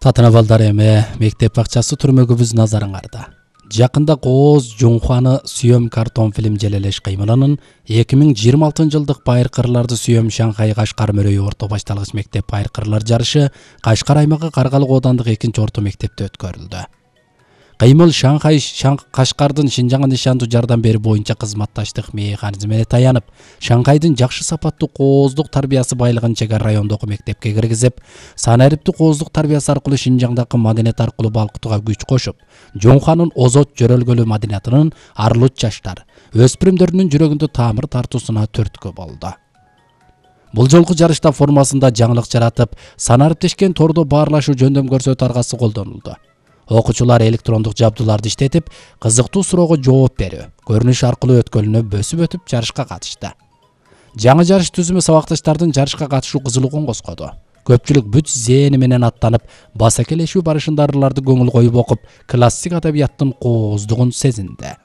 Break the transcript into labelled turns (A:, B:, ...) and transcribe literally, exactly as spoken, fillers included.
A: Татына балдар эме мектеп бакчасы түрмөгүбүз назарыңарда. Жакында Кооз Жунхуаны сүйөм картон фильм желелеш кыймылынын эки миң жыйырма алтынчы жылдык байыркырларды сүйөм Шанхай Кашкар мөрөйү орто башталгыч мектеп байыркырлар жарышы Кашкар аймагы Каргалык оодандык экинчи орто мектепте өткөрүлдү. Кыймыл Шанхай Кашкардын Шинжаңга нишандуу жардам берүү боюнча кызматташтык механизмине таянып, Шанхайдын жакшы сапаттуу кооздук тарбиясы байлыгын чегара райондогу мектепке киргизип, санариптүү кооздук тарбиясы аркылуу Шинжаңдагы маданият аркылуу балкытууга күч кошуп, Жонхуанын озот жөрөлгөлүү маданиятынын арылуч жаштар, өспүрүмдөрүнүн жүрөгүндө таамыр тартуусуна түрткү болду. Бул жолку жарышта формасында жаңылык жаратып, санариптешкен тордо баарлашуу жөндөм көрсөтүү аргасы колдонулду. Окуучулар электрондук жабдууларды иштетип, кызыктуу суроого жооп берүү, көрүнүш аркылуу өткөлүнө бөсүп өтүп жарышка катышты. Жаңы жарыш түзүмү сабакташтардын жарышка катышуу кызыгуун козгоду. Көпчүлүк бүт зээни менен аттанып, басакелешүү барышында ырларды көңүл коюп окуп, классик адабияттын кооздугун сезинди.